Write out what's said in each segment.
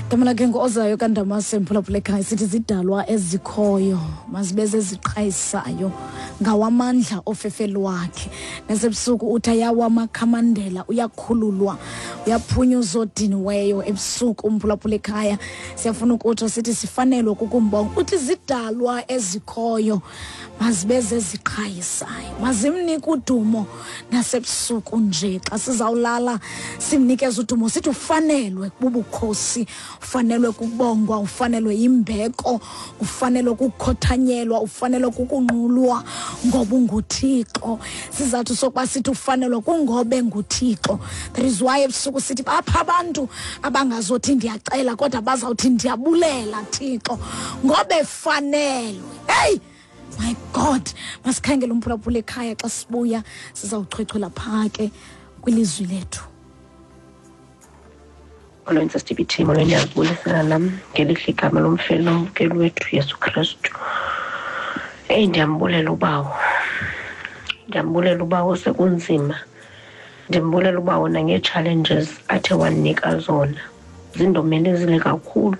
Gama lakhe nguOzayo kaNdamase, mphulaphula ekhaya. Sithi zidalwa ezikhoyo mazibe zeziqhayisayo ngawamandla ofefe lwakhe. Nasebusuku uthi ayawa amakhamandela, uyakhululwa, uyaphunyuza odiniweyo ebusuku. Umphulaphula ekhaya, siyafuna ukutsho sithi sifanelwe kukumbonga. Uthi zidalwa ezikhoyo mazibe zeziqhayisayo, mazimnike udumo nasebusuku nje. Xa sizawulala simnikeze udumo, sithi ufanelwe bubukhosi, ufanelwe kukubongwa, ufanelwe yimbeko, ufanelwe kukukhothanyelwa, ufanelwe kukunqulwa ngoba unguThixo. Sizathu sokuba sithi ufanelwe kungobe nguThixo. That is why ebusuku sithi bapha abantu abangazothi ndiyacela, kodwa bazawuthi ndiyabulela Thixo ngoba efanelwe. Hey my God, masikhangele umphulaphula ekhaya. Xa sibuya sizawuchwechwela phaa ke kwilizwi lethu. Molweni sisiTBT, molweni, ndiyazibulisela nam ngelihle igama lomfeli nomvukeli wethu Yesu Kristu. Eyi, ndiyambulela uBawo, ndiyambulela uBawo sekunzima. Ndimbulela uBawo nangee-challenges athe wandinika zona, zindomelezile kakhulu,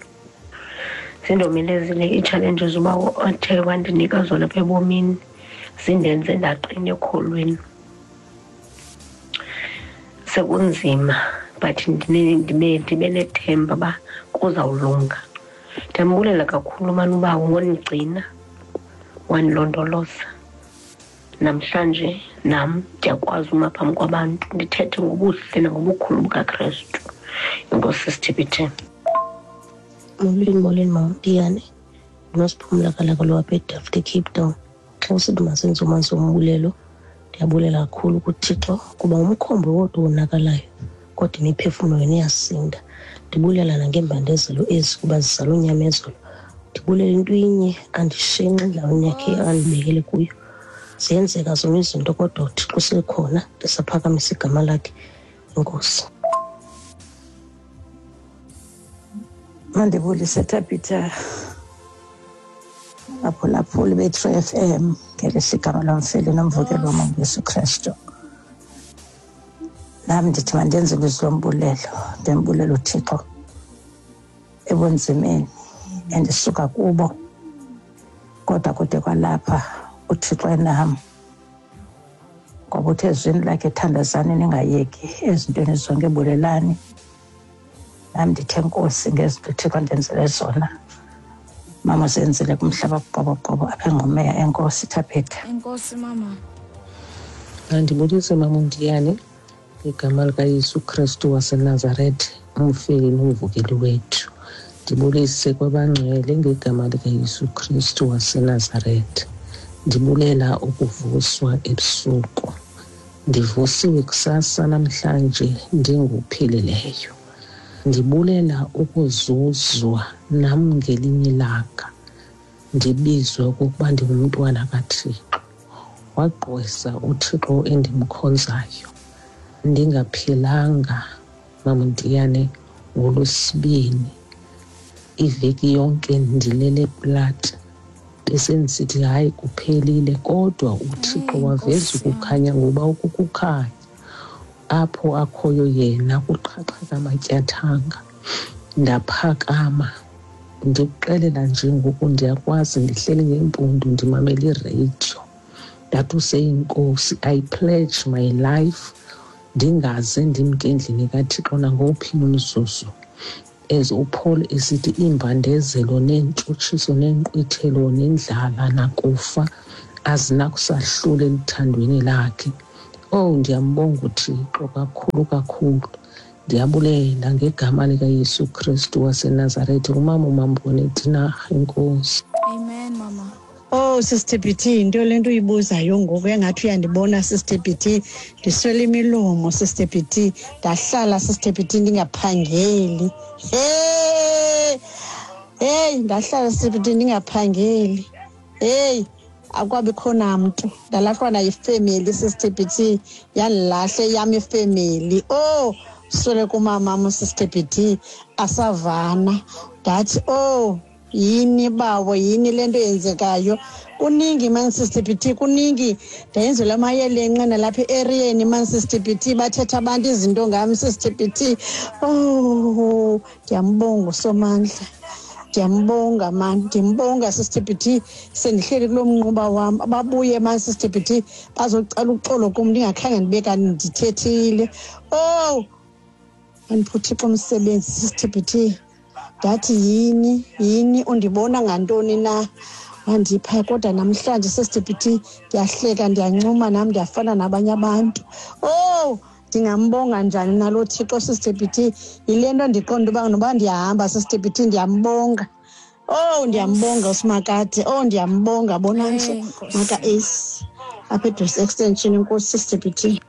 zindomelezile ii-challenges uBawo athe wandinika zona apha ebomini, zindenze ndaqina ekholweni. Sekunzima but ndibe nethemba uba kuzawulunga. Ndiyambulela kakhulu mani uBawo ngondigcina, wandilondoloza. Namhlanje nam ndiyakwazi uma phambi kwabantu ndithethe ngobuhle nangobukhulu bukaKrestu. Enkosi sisiTBT. Molweni, molweni mama Ntiyane, ndinosiphumla kalaka lwapha eDelft, eCape Town. Xa usithi masenze umanzi wombulelo, ndiyabulela kakhulu kuThixo kuba umkhombe wodwa wonakalayo kodwa imiphefumlo yona iyasinda. Ndibulela nangeembandezelo ezi kuba zizala unyamezelo. Ndibulela into inye, andishenxi endaweni yakhe andibekele kuyo. Ziyenzeka zona izinto kodwa uThixo usekhona, ndisaphakamisa igama lakhe. Enkosi. Mandibulise Tabitha, aphulaphuli be-True FM ngelihle igama lomfeli nomvukeli wam uYesu Kristu. Nam ndithi mandenze ilizwi lombulelo, ndimbulela uThixo ebunzimeni endisuka kubo, kodwa kude kwalapha uThixo enam, ngoba uthe ezwini lakhe thandazani ningayeki, ezintweni zonke bulelani. Nam ndithe Nkosi ngezinto uThixo ndenzele zona, mama zenzile kumhlaba kuqoboqobo apha eNgqumeya. Enkosi Thabetha. Enkosi mama. Andibulise mama uNdiyane ngegama likaYesu Kristu waseNazarethe, umfeli nomvukeli wethu. Ndibulise kwabangcwele ngegama likaYesu Kristu waseNazarethe. Ndibulela ukuvuswa ebusuku. Ndivusiwe kusasa namhlanje ndinguphilileyo. Ndibulela ukuzuzwa nam ngelinye ilanga, ndibizwe okokuba ndingumntwana kaThixo. Wagqwesa uThixo endimkhonzayo. Ndingaphilanga mama Ndiyane ngoLwesibini, iveki yonke ndilele plat, besendisithi hayi kuphelile, kodwa uThixo waveza ukukhanya, ngoba ukukukhanya apho akhoyo yena kuqhaqheka amatyathanga. Ndaphakama, ndikuxelela nje ngoku ndiyakwazi, ndihleli ngeempundu ndimamela ireyidiyo. Ndathi useyinkosi, I pledge my life ndingaze ndimke endlini kaThixo nangowuphi umzuzu. As uPaul esithi iimbandezelo neentshutshiso neenkqwithelo nendlala nakufa azinakusahlula eluthandweni lakhe. Oh, ndiyambonga uThixo kakhulu kakhulu. Ndiyabulela ngegama likaYesu Kristu waseNazarethe. Umama uMambone Tinarha, enkosi. Amen mama. Oh Sister BT, into le nto uyibuzayo ngoku engathi uyandibona Sister BT, ndiswele imilomo Sister BT, ndahlala Sister BT ndingaphangeli. Hey! Hey, ndahlala Sister BT ndingaphangeli. Hey, akwabikho namntu. Ndalahlwa nayifemeli Sister BT, yandilahle yam ifemeli. Oh, swele kumamam Sister BT, asavana. Ndathi oh, yini bawo, yini le nto yenzekayo? Kuningi man Sister BT, kuningi. Ndayenzela amayelenqe nalapha e-eriyeni man Sister BT, bathetha abantu izinto ngam Sister BT. Oh, Owu, ndiyambonga uSomandla, ndiyambonga mani, ndimbonga Sister BT. Sendihleli kulo mnquba wam, babuye mani Sister BT bazocela uxolo kum, ndingakhange ndibe kanti ndithethile. Owu, andipha uThixo umsebenzi Sister BT. Ndathi yini yini, undibona ngantoni na? Wandipha. Kodwa namhlanje Sister BT ndiyahleka, ndiyancuma nam, ndiyafana nabanye abantu. Oh, ndingambonga njani nalo Thixo Sister BT? Yile nto ndiqonda uba noba ndiyahamba Sister BT, ndiyambonga. Oh, ndiyambonga uSimakade. Oh, ndiyambonga bona nje maka Ace apha eDress Extension. Enkosi Sister BT.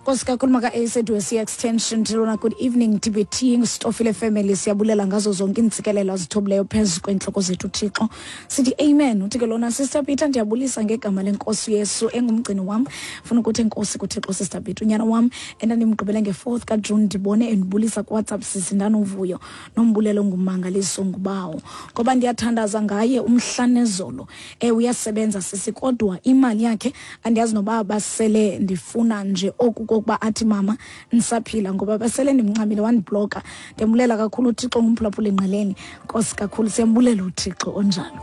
Nkosi kakhulu maka Ace eDwesi Extension. Tilona, good evening TBT, Stofile family, siyabulela ngazo zonke iintsikelelo azithobileyo phezu kweentloko zethu Thixo, sithi amen. Uthi ke lona, Sister Peter, ndiyabulisa ngegama lenkosi Yesu engumgcini wam. Funa ukuthi enkosi kuThixo Sister Peter, unyana wam endandimgqibele nge-4th kaJune ndibone endibulisa kuWhatsApp sisi, ndanovuyo nombulelo ngummangaliso ngubawo, ngoba ndiyathandaza ngaye umhla nezolo. Uyasebenza sisi, kodwa imali yakhe andiyazi noba basele ndifuna nje oku kokuba athi mama ndisaphila, ngoba basele ndimncamile wandibloka. Ndiyambulela kakhulu uThixo ngumphulaphula engqeleni. Nkosi kakhulu, siyambulela uThixo onjalo.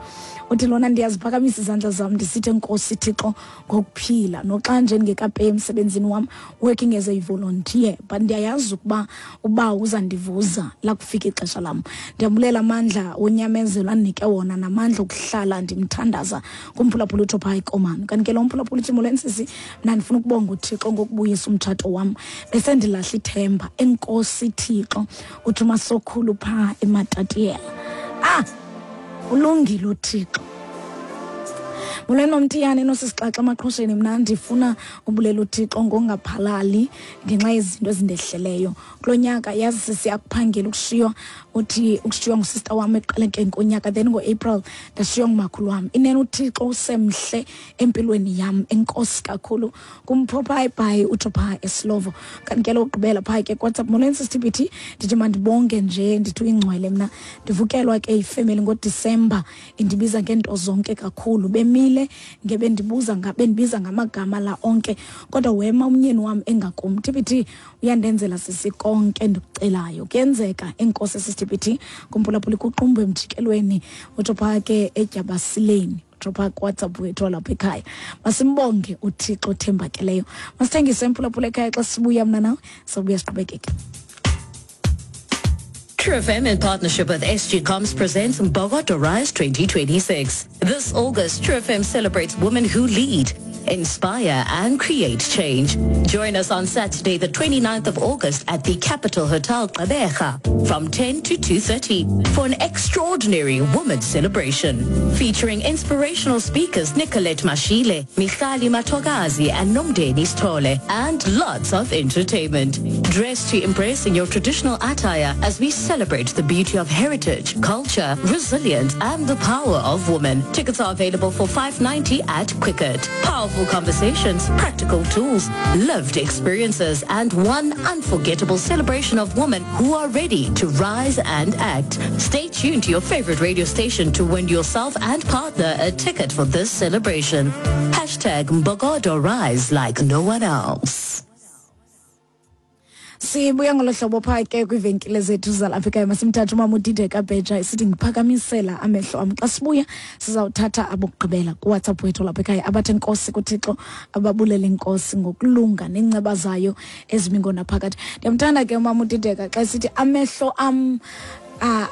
Uthi lona, ndiyaziphakamisa izandla zam ndisithi enkosi Thixo ngokuphila, noxa nje ndingekapeyi emsebenzini wam, working as a volunteer, but ndiyayazi ukuba uba uzandivuza lakufika ixesha lam. Ndiyambulela amandla wonyamezelo andinike wona namandla okuhlala ndimthandaza. Kumphulaphula utsho phaa ikomani. Kanti ke lo mphulaphula uthi, molweni sisi, mna ndifuna ukubonga uThixo ngokubuyisa umtshato wam, besendilahla ithemba. Enkosi Thixo. Uthi uMasokhulu phaa eMatatiyela. Ulungile uThixo. Molweni Nomtiyane nosisixaxa emaqhosheni, mna ndifuna ubulela uThixo ngongaphalali ngenxa yezinto ezindehleleyo kulo nyaka. Yazi sisi, akuphangela ukushiywa, uthi ukushiywa ngusista wam ekuqalekeni konyaka, then ngoApril ndashiywa ngumakhulu wam. Inene uThixo usemhle empilweni yam. Enkosi kakhulu. Kumphophayi utsho phaa eSlovo. Kanti ke lokugqibela phaa ke kuWhatsApp, molweni Sister BT, ndithi mandibonge nje, ndithi uyingcwele. Mna ndivukelwa ke ifemeli ngoDisemba, indibiza ngeento zonke kakhulu, bemile ngebendibuza bendibiza ngamagama la onke, kodwa wema umnyeni wam engakum. TBT, uyandenzela sisi konke endikucelayo, kuyenzeka. Enkosi Sister BT. Kumphulaphula kuqumbu emjikelweni, utsho phaa ke eDyabasileni, utsho phaa kuWhatsApp wethu walapha ekhaya. Masimbonge uThixo othembakeleyo. Masithengise emphulaphula ekhaya, xa sibuya mna nawe sobuya siqhubekeke. True FM in partnership with SG Comms presents Mbokodo Rise 2026. This August, True FM celebrates women who lead, inspire and create change. Join us on Saturday, the 29th of August at the Capital Hotel Gqeberha from 10 to 2:30 for an extraordinary women's celebration featuring inspirational speakers Nicolette Mashile, Michali Matogazi and Nomdeni Stole, and lots of entertainment. Dress to impress in your traditional attire as we celebrate the beauty of heritage, culture, resilience and the power of women. Tickets are available for 590 at Quicket. Powerful conversations, practical tools, lived experiences, and one unforgettable celebration of women who are ready to rise and act. Stay tuned to your favorite radio station to win yourself and partner a ticket for this celebration. Hashtag Mbokodo Rise like no one else. Sibuya ngolo hlobo phaa ke kwiivenkile zethu zalapha ekhaya. Masimthathe umama uDideka Bheja, isithi ngiphakamisela amehlo am. Xa sibuya sizawuthatha abokugqibela kuWhatsApp wethu lapha ekhaya, abathi enkosi kuThixo, ababulele inkosi ngokulunga neenceba zayo ezimi ngonaphakade. Ndiyamthanda ke umama uDideka xa esithi amehlo am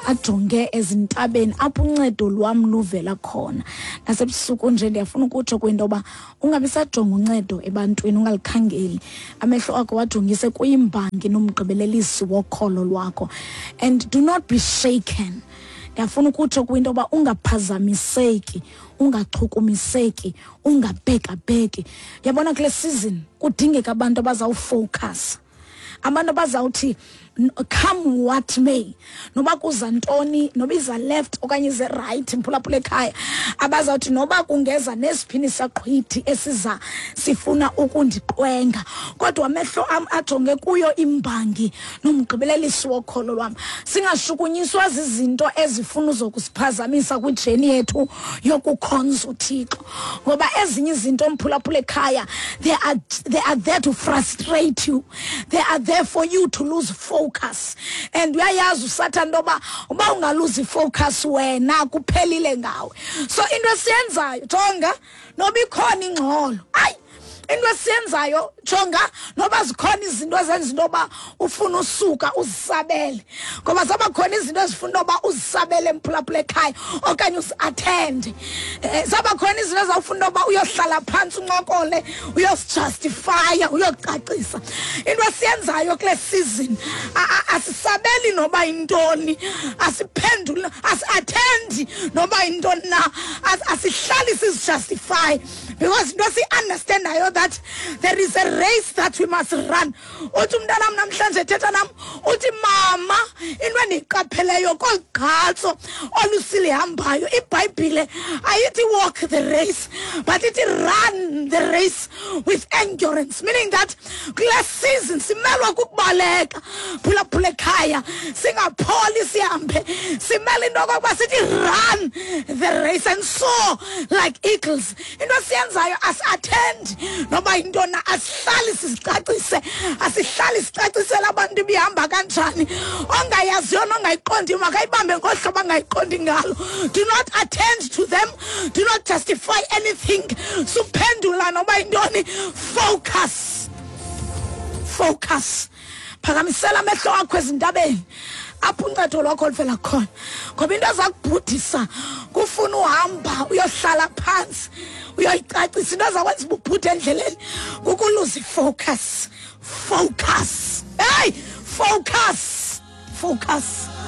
ajonge ezintabeni apho uncedo lwam luvela khona. Nasebusuku nje ndiyafuna ukutsho kwinto yoba ungabi sajonga uncedo ebantwini, ungalikhangeli, amehlo akho wajongise kuyimbangi nomgqibelelisi wokholo lwakho, and do not be shaken. Ndiyafuna ukutsho kwinto yoba ungaphazamiseki, ungachukumiseki, ungabhekabheki. Yabona, kule season kudingeka abantu abazawufowukhasa, abantu abazawuthi come what may, noba kuza ntoni, noba iza left okanye ize right, mphulaphula ekhaya, abazawuthi noba kungeza nesiphini saqhwithi esiza sifuna ukundiqwenga, kodwa amehlo am ajonge kuyo imbangi nomgqibelelisi wokholo lwam. Singashukunyiswa zizinto ezifuna uzokusiphazamisa kwijeni yethu yokukhonza uThixo, ngoba ezinye izinto, mphulaphula ekhaya, they are there to frustrate you, they are there for you to lose focus. ifocus, and uyayazi usathana into yoba uba ungaluza ifocus wena kuphelile ngawe. So into esiyenzayo, jonga noba ikhona ingxolo, ayi, into esiyenzayo, jonga noba zikhona izinto ezenza into yoba ufuna usuka uzisabele, ngoba zaba khona izinto ezifuna into yoba uzisabele emphulaphula ekhaya okanye uziathende. Zaba khona izinto ezawufuna into yoba uyohlala phantsi uncokole, uyosijustifya, uyocacisa. Into esiyenzayo kule season, asisabeli noba yintoni, asiphenduli, asiathendi noba yintoni na, asihlali sizijustify, because into esiyi-understandayo that there is a race that we must run. Uthi umntanam namhlanje thetha nam, uthi mama, into endiyiqapheleyo kolu gqatso olusilihambayo, ibhayibhile ayithi walk the race, but ithi run the race with endurance, meaning that kule season simelwa kukubaleka, phulaphula ekhaya, singapholi sihambe. Simele into okokuba sithi run the race and soar like eagles. Into esiyenzayo, asi-athendi noba yintona, asihlali sizicacise, asihlali sicacisele abantu ibihamba kanjani. Ongayaziyo nongayiqondiyo makayibambe ngohlobo angayiqondi ngalo. Do not attend to them, do not justify anything. Suphendula noba yintoni. Focus, focus. Phakamisela amehlo akho ezintabeni apho uncedo lwakho oluvela khona, ngoba into eza kubhudisa kufuna uhamba uyohlala phantsi uyoyicacisa. Into ezakwenza uba ubhude endleleni kukuluza ifocus. Focus, hey, focus, focus.